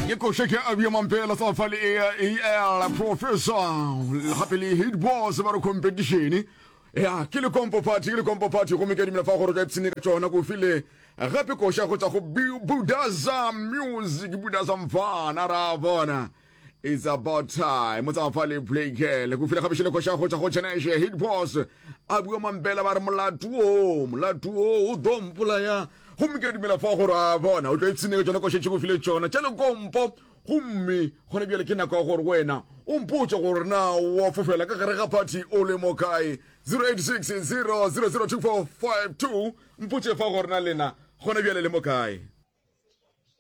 Ke koša ke Abia Mampela tsa fa le AL Professor gape le Hit Boss ba re competition. Ya ke le kompo party ke le kompo party gomme ke dumela fa gore ka ipshine ka tšona ko file gape koša go tšwa go Budaza Music Budaza mfana ra bona. It's about time. Mo tsamaya fa le play girl. Go file gape šele koša go tšwa go Cheneshe Hit Boss. A bua Mampela ba re molato o, molato o o do mpolaya. Gomme ke a dumela fa gore a bona o tlo ipshine ka tšona koša tše go file tšona tša lekompo. Gomme gona bjale ke nako ya gore wena o mpotše gore na wa fofela ka gare ga party o le mo kae. 086 0002452 mpotše fa gore na lena gona bjale le mo kae.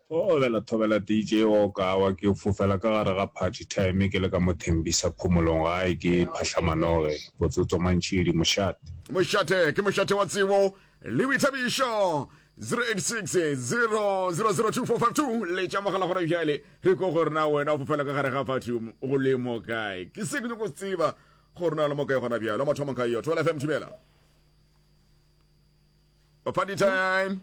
Thobela thobela DJ Okawa ke fofela ka gare ga party time ke le ka mo Thembisa Phomolong gae ke Phahlamanoge Botsotso Mantšhidi mošate. Mošate ke mošate wa tsebo le boithabišo 086 0002452 letša mogala gona bjale re ko gore na wena o fofela ka gare ga party o le mo kae ke se ke nyako tseba gore na le mo kae gona bjale o mathomo ka yo Thobela FM thibela Party time.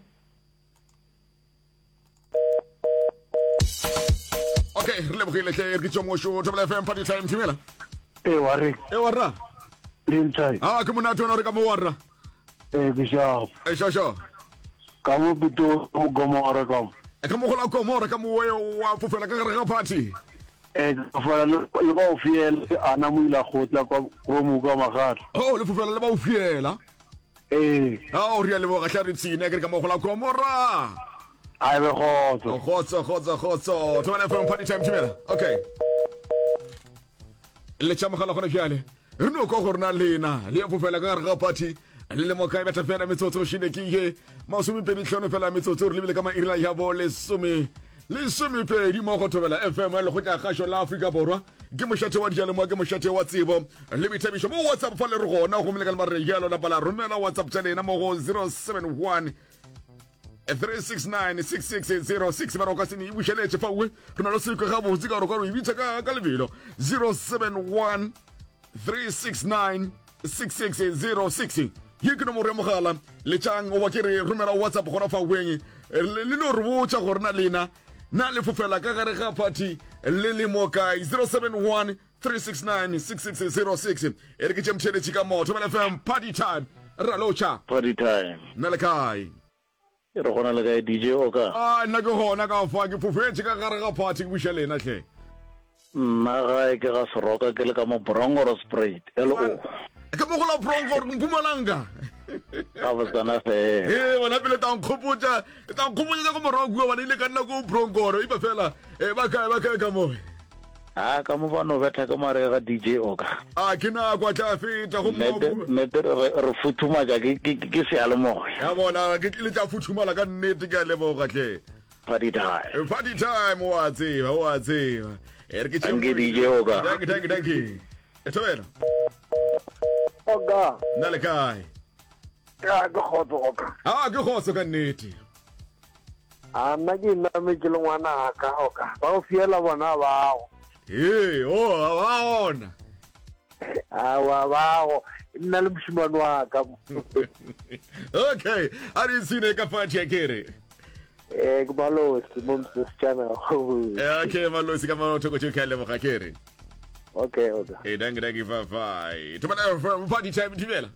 Okay, re lebogile hle re ke tšomošo Thobela FM Party time thibela. E wa re. E wa rra. Le ntsai. Ah, ke monate ona re ka mo wa rra. E ke sharp. E sho sho. Ka mo pito mo gomora ka mo. E ka mo gola gomora ka mo wa fofela ka gare ga party. E ke fofela le ba o fiela ana mo ila gotla kwa go mo ka magatla. Oh, le fofela le ba o fiela. Ee. Ao, re a leboga hle re ipshine ke re ka mo gola Gomora. A be kgotso. Kgotso, kgotso, kgotso. Thobela FM party time thibela. Okay. Letša mogala gona bjale. Re no kwa gore na lena le ya fofela ka gare ga party le le moka e betha fela metsotso šine ke ye masomepedi tlhano fela metsotso re lebile ka mairila ya bo lesome lesomepedi mo go thobela fm ya lekgotla kgašo la afrika borwa Ke mošate wa dijalemoya, ke mošate wa tsebo le boithabišo. Mo WhatsApp fa le re gona, gomme le ka le re jalo lapa la romela WhatsApp tša lena mo go 071 369 6606 ba re o ka se ne e bušeletše fa uwe re na le sekwe gabotse ka gore ka re e bitša ka ka lebelo 071 369 6606 ye ke nomoro ya mogala letšang oba ke re romela whatsapp gona fa weng le no re botša gore na lena Na le fofela ka gare ga phathi le le mo kae? 071 369 6606 E re ke tše mtheeletši ka mo Thobela FM party time Ralotšha Party time. Nna le kae? E re gona le kae DJ Oka? A nna ke gona ka fa ke fofetše ka gare ga phathi ke buša lena hle. Nna gae ke ga Seroka ke le ka mo Bronkhorstspruit, LO. Ka mo go la Bronkhor, Mpumalanga. Gabotsana fela. Ee, bona pele tla nkgopotša, tla nkgopotša tša ko morago kua, bana ile ka nna ko Bronkhor, ipa fela, e ba kae, ba kae ka mo. A ka mo ba no betha ka mare ga DJ Oka. A ke nako a tla feta go Nnete, nnete re re futhumatša ke ke ke seyalemoya. Ya bona, ke le tla futhumala ka nnete ke a leboga hle. Party time. Party time, o a tseba, o a tseba. E re ke Thank you, DJ Oka. Thank you, thank you, thank you. E thobela. Oka. Nna le kae? Ya ke kgotso Oka. Ah, ke kgotso ka nnete. A nna ke iname ke le ngwanaka Oka. Ba go fiela bona bago. Ee, oh, ba ona. Awa bago. Nna le mošemane wa ka. Okay, a re ipshine ka party ya kere. Eh, ke malosi mo mosetsana. Eh, okay, malosi ka mo thoko tšeo ke a leboga ke re. Okay, okay. Hey, danke, danke, bye bye. Thobela FM, party time thibela.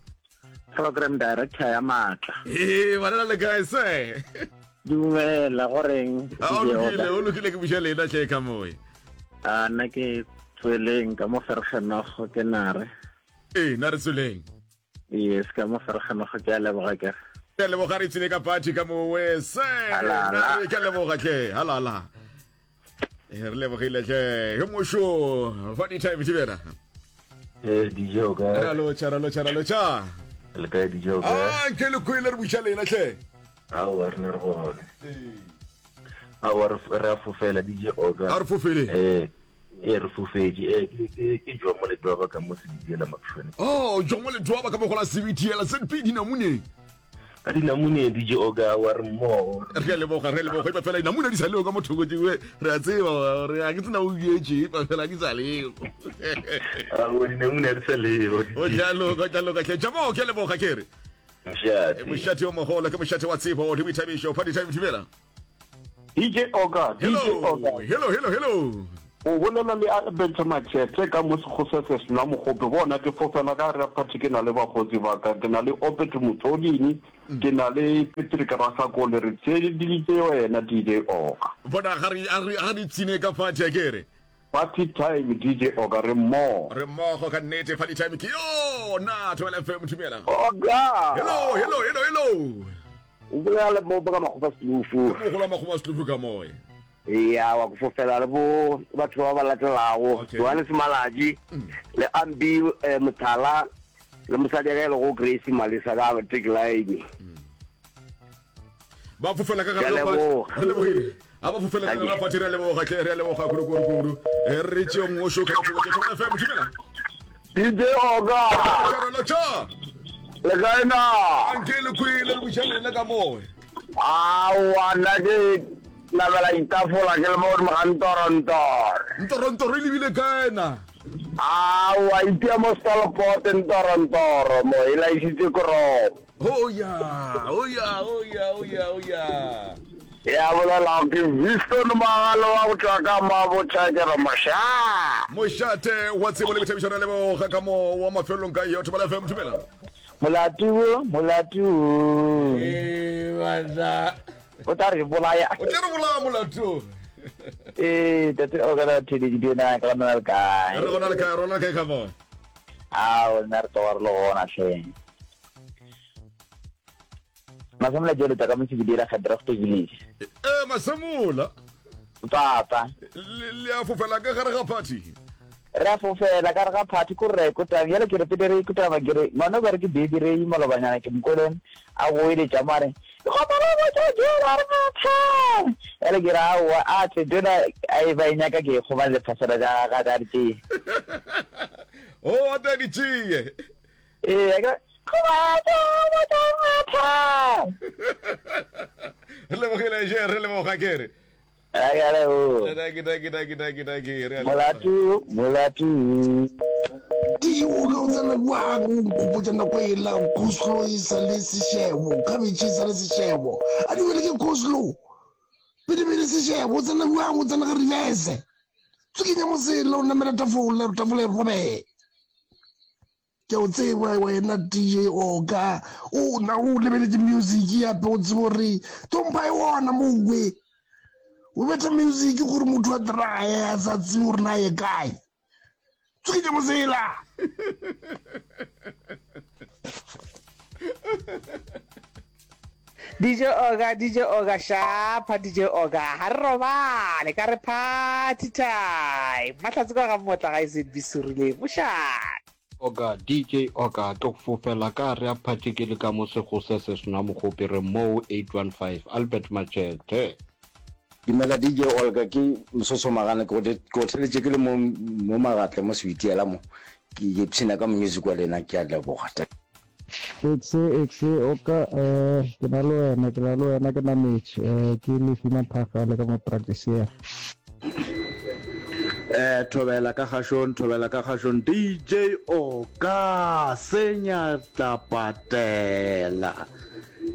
Program director ya maatla. Ee, banana le kae se? Dumela, go reng? A o lokile, o lokile ke buša lena hle ka moe. A nna ke tsweleng ka mo Vergenogo ke nare. Ee, nare tsweleng. Yes, ka mo Vergenogo ke a leboga ke. Ke a leboga re tsile ka party ka mowe se. Halala. Ke a leboga hle. Halala. Eh, re lebogile hle. He mosho, fa di time thibela. Eh, DJ o kae? Ra lotšha, ra lotšha, ra lotšha. Le kae DJ o kae? Ah, ke le kwele re buša lena hle. Aowa re ne re gone. Aowa re re a fofela DJ Oka. A re fofele. Eh, eh re fofetše. Eh ke ke ke Jomo Letwaba ka mo Sebitiela Mapšhone. Oh, Jomo Letwaba ka mo go la Sebitiela ZP dinamune. Ka dinamune DJ Oka wa re mmogo. Re a leboga, re a leboga. Epa fela dinamune di sa leo ka mo thoko tšewe. Re a tseba gore a ke tsena o dietše, epa fela di sa leo. Aowa dinamune di sa leo. O tla loka, o tla loka hle. Jomo, ke a leboga ke re. Mošate. Mošate o mogolo ke mošate wa tsebo le boithabišo. Party time thibela. DJ Oka, DJ Hello, Oka. hello, hello, hello. O bolela le Albert Matšhethe ka mo Sekgosese Sena Mogope. Bona ke fofela ka gare ga phathi ke na le bakgotsi ba ka. Ke na le Obed Mothodini, ke na le Patrick Rasakole. Re theeleditše wena DJ Oka. Bona ga re ga re ga re ipshine ka phathi a ke re. Party time DJ Oka re mmogo. Re mmogo ka nnete party time ke yona Thobela FM dumela. Oka. Hello, hello, hello, hello. O bolela le mo ka Makgopa Selufu. Ke mogolo wa Makgopa Selufu ka moe. Ya wa go fofela le bo batho ba ba latelago. Okay. Johannes Malatji le Ambi eh, Mothala le mosadi ya ka e lego Grace Malesa ka Tech Line. Ba fofela ka Ke a gare ga party. leboga. Re lebogile. A ba fofela ka gare ga Dankie. party re a leboga tle re a leboga kudu kudu kudu. Eh, Re tšeo ngošo ka thoko tša Thobela FM dumela. DJ Oka. Tšarelo tša. Le kae na? Anke le kwele le buša lena ka moe. Aowa nna ke namela ditafola ke le mo godimo ga ntorontoro. Ntorontoro e lebile kae na? Aowa itia mo Stolport ntorontoro mo e laisitse koropo. Oh ya, oh ya, oh ya, oh ya, oh ya. Ya bolelago ke Winston Magalo wa go tšwa ka Mabotja ke re moša. Mošate wa tsebo le boithabišo re leboga ka mo wa mafelelong ka yo Thobela FM thobela. Molato wo, molato wo. Ee, banna. O tla re bolaya. O tla re bolaya molato. Ee, tate o kana theleditše na ka gona le kae? Re gona le kae, rona kae ka mo? Ao, nna re tloga re le gona hle. Masemola ke eletsa ka mo Sebidira Gedragte Village. Ee, Masemola. Papa. Le le a fofela ka gare ga party. Re a fofela ka gare ga party ko re kotang bjale ke re pele re kotama ke re ngwana o ka re ke baby re malobanyana ke mokwele a goeletša mo a re kgopela botša jela re matha bjale ke re aowa a tle jela a e ba e nyaka ke e kgomane le phasela ja ga ka di tšee. O a tla di tšee. Ee, a ke Re lebogile je, re leboga ke re. Dankie, dankie, dankie, dankie, dankie. Re a leboga. Molato, molato. DJ o ka o tsena bjang o nkgopotša nako ela coleslaw e sa le sešebo, cabbage e sa le sešebo. A di wele ke coleslaw. Pele pele sešebo o tsena bjang o tsena ka reverse. Tswikinya mosela o namela tafola, tafola e robege. Ke a o tseba wena DJ Oka. O na o lebeletše music yape o tsebe gore tompha e ona mowe. O betha music gore motho a traye a sa tsebe gore na ye kae. Tsukitše mosela. DJ Oga, DJ Oga, shapa DJ Oga, ga re robale, ka re party time. Mahlatse kwa ga Mmotla ga SNB Serileng, mošate. Oga, DJ Oga, ke go fofela ka gare a phathi ke le ka mo Segosese Sna Mogopi re moo 815 Albert Matšhethe. Dumela DJ Olga ke Msoso Magana ke go theletše ke le mo mo Magatle mo Sebitiela mo ke ipshina ka music wa lena ke a leboga. Exe exe oka eh ke na le wena ke na le wena ke nametše eh ke Lefi Maphaka le ka mo practice Eh thobela ka kgašong thobela ka kgašong DJ Oka senya tla patela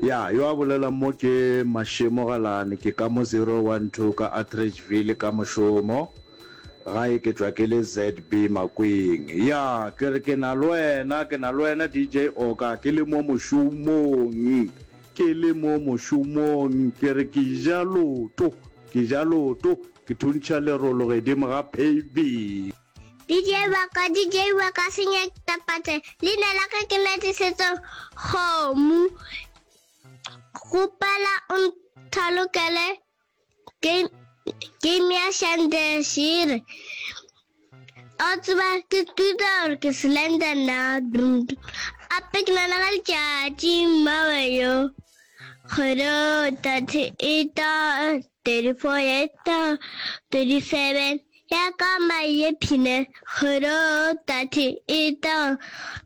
ya yo a bolelang mo ke Mashemo Galane ke ka mo 012 ka Atteridgeville ka mošomo Gae ke tšwa ke le ZB Makweng. Ya, ke re ke na le wena, ke na le wena DJ Oka, ke le mo mošomong, ke le mo mošomong, ke re ke ja loto, ke ja loto, ke thuntšha lerolo gedimo ga paving. DJ wa ka, DJ wa ka senya tapate, leina la ka ke Natisetso Kgomo. Kgopela o nthalokele Game, game ya Shandeshire. O tseba ke tuta gore ke slender na dum. Ape ke nana ka letšatši mmawe yo. Kgwedi 38, 34, 37 ya ka maye phine. Kgwedi 38,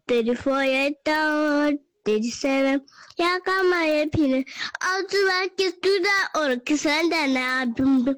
34, 37 ya ka maye phine. O tseba ke tuta gore ke slender na dum.